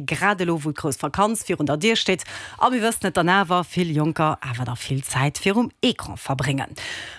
Grad elo wou d'grouss Vakanz virun der Dier steet a mir wëssen et dann awer, vill Jonker awer da vill Zäit virum Ecran verbréngen.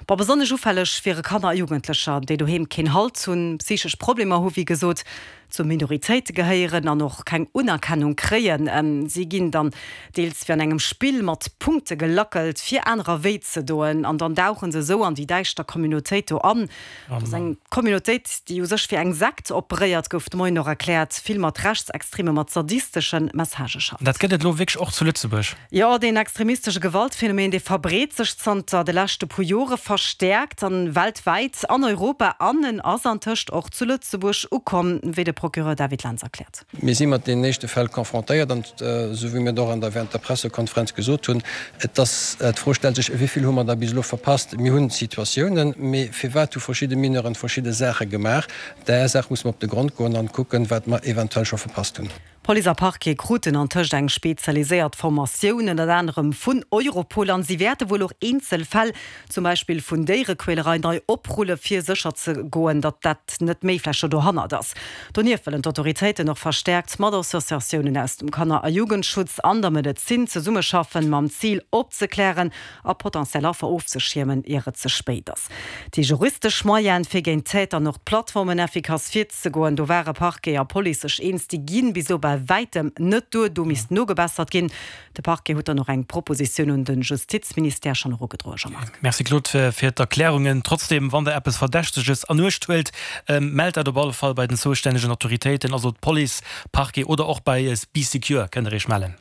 Bon, besonnesch ufälleg wiere Kanner a Jugendlecher, déi doheem keen Halt hunn, psychesch Problemer hu wéi gesot, zu Minoritéite gehéieren an och keng Unerkennung kréien. Si ginn dann deels wéi an engem Spill mat Punkte gelackelt, fir anerer wéi ze doen an dann dauche se esou an déi däischter Communautéit do an. Dat ass eng Communautéit, déi u sech wéi eng Sekt operéiert, gouf de Moien och erkläert, vill mat Rechtsextreme, mat sadistesche Messagë schafft. Dat gëtt et elo wierklech och zu Lëtzebuerg? Jo, deen extremistesche Gewaltphänomen, dee verbreet sech zanter de leschte puer Jore verstäerkt an weltwäit, an Europa an en ass antëscht och zu Lëtzebuerg ukomm, wéi de Procureur David Lentz erkläert. Mir si mat deenen éischte Fäll confrontéiert an, esou wéi mir et och an der während der Pressekonferenz gesot hunn, et ass, d'Fro stellt sech, wéi vill hu mer da bis elo verpasst? Mir hunn Situatiounen, mee firwat hu verschidde Mineuren verschidde Saache gemaach? Där Saach muss mer op de Grond goen an kucken, wat mer eventuell scho verpasst hunn. Police a Parquet kruten antëscht eng spezialiséiert Formatioun, ënnert anerem vun Europol, an si wäerte wuel och eenzel Fäll, zum Beispill vun Déierequälerei, nei oprulle fir sécher ze goen, datt dat net méi vläicht scho dohannert ass. Donieft wëllen d'Autoritéiten och verstäerkt mat Associatiounen aus dem Kanner a Jugendschutz an der Medezin zesummeschaffen, mam Zil opzeklären a potentiell Affer ofzeschiermen, ier et ze spéit ass. Déi juristesch Moyene fir géint d'Täter an och d'Plattformen effikass virzegoen, do ware Parquet a Police sech eens, déi ginn bis elo bei wäitem net duer, do misst nogebessert ginn. De Parquet huet dann och eng Propositioun un de Justizministère schonn erugedroen, Jean-Marc. Merci Claude fir d'Erklärungen. Trotzdem, wann der eppes Verdächteges an Uecht huelt, mellt dat op alle Fall bei den zoustännegen Autoritéiten, also d'Police, Parquet oder och bei Bee Secure kënnt der iech mellen.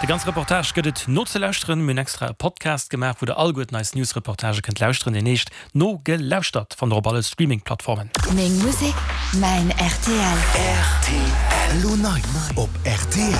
De ganze Reportage gëtt et nozelauschteren. Mir hunn extra e Podcast gemaach, wou der alleguerten eis News-Reportagë kënnt lauschteren. Deen heescht Nogelauschtert fannt der op alle Streaming-Plattformen. Meng Musek, mäin rtl. Rtl, Elo nei op rtl.